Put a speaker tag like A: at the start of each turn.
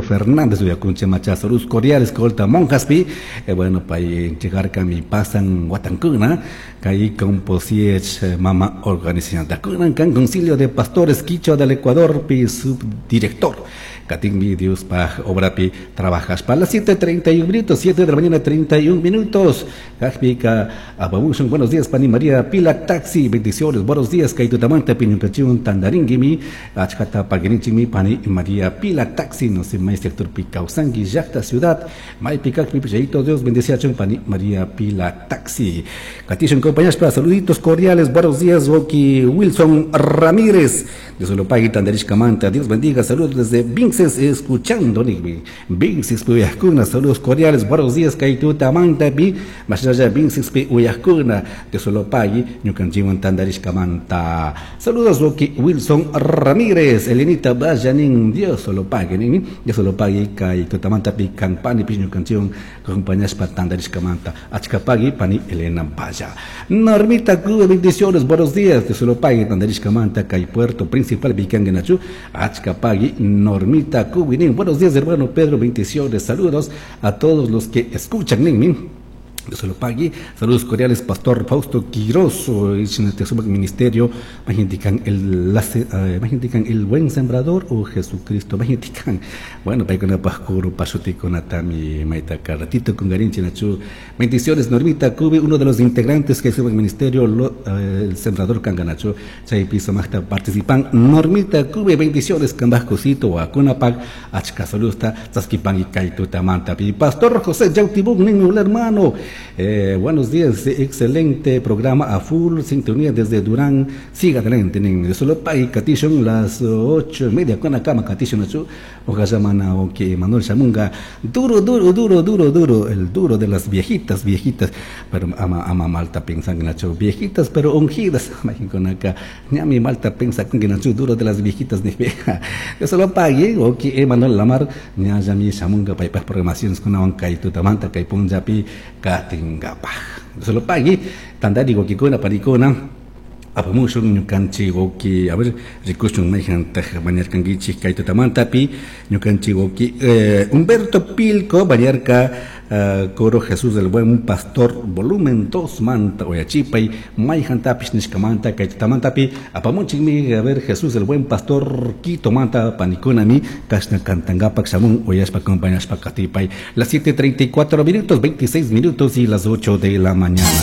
A: Fernández uyakunchik macha saludos cordiales colta monjaspi bueno pay entregarkami pasan watankuna kay composiech mama organización kunan kan concilio de pastores quichua del Ecuador pi subdirector katinmi Diospaj obrapi trabajaspa a las 7:31 minutos, 7 de la mañana 31 minutos. Kajpika apamushun buenos días pani María Pila Taxi, bendiciones, buenos días kaytutamanta piñunkachiun tandaringuimi achkata paguirinchikmi pani María Pila Taxi, no sé may sector pi kawsanki llaqta ciudad maypi kajpi pichayito Dios bendeciachun pani María Pila Taxi. Katishun compañaspa saluditos cordiales, buenos días Woki Wilson Ramírez de Solopagui tandarishkamanta, Dios bendiga, saludos desde Vinces escuchando Vinces uyajkuna, saludos cordiales, buenos días kaytutamanta pi mashnalla Vinces pi uyajkuna de Solopagui ñukanchikwan tandarishkamanta. Saludos Woki Wilson Ramírez, Elenita Bayanin, Dios Solopagui nin, Dios Solopagui kaytutamanta pi kanpani pi ñukanchikwan acompañashpa tandarishkamanta. Achkapagui pani Elena Baya. Normita Cuba, bendiciones, buenos días, Dios Solopagui tandarishkamanta kay Puerto Principal Bikangenachu, Achkapagui Normita Cuba, nin. Buenos días hermano Pedro, bendiciones, saludos a todos los que escuchan, nin, nin. Dios lo pague. Saludos cordiales, Pastor Fausto Quiroz, ministerio, el buen sembrador o Jesucristo, bueno, ratito con Garinchi Nachu. Bendiciones, Normita Cube, uno de los integrantes que sube el ministerio, el sembrador Canganacho, Chay Piso Magta participan, Normita Cube, bendiciones, Cambascosito, Acunapac, Achka Salusta, Tzaskipan y Kaituta Manta, Pastor José Yautibuk, niño, hermano. Buenos días, excelente programa a full, sintonía desde Durán, siga adelante, nin. Solo pay katishon las 8:30 con la cama katishon nachu, ojalá o que Manuel Shamunga, duro, duro, duro, duro, duro, el duro de las viejitas, viejitas, pero ama, ama malta pensan nachu, viejitas pero ungidas, con acá, ñami malta pensa con que nachu, duro de las viejitas, ni vieja. Yo solo pagué, o que Manuel Lamar, ña yami Shamunga, pay pa programaciones con awan kay tutamanta kay punjapi katingapaj. Solo pagui, tandari gokikuna parikuna, apamushun ñukanchik woki, a ver, rikushun mayhantaj bañarkankichik kay tutamantapi, ñukanchik woki, Humberto Pilco bañarka, coro Jesús del Buen Pastor, volumen 2 manta, oyachipay, mayhantapish nishkamanta, kay tutamantapi, apamunchikmi, a ver, Jesús del Buen Pastor, Quito manta, panikunami, kashna kantangapak, shamun, oyashpa, acompañashpa, katipay, las 7:34 minutos, 26 minutos y las 8 de la mañana.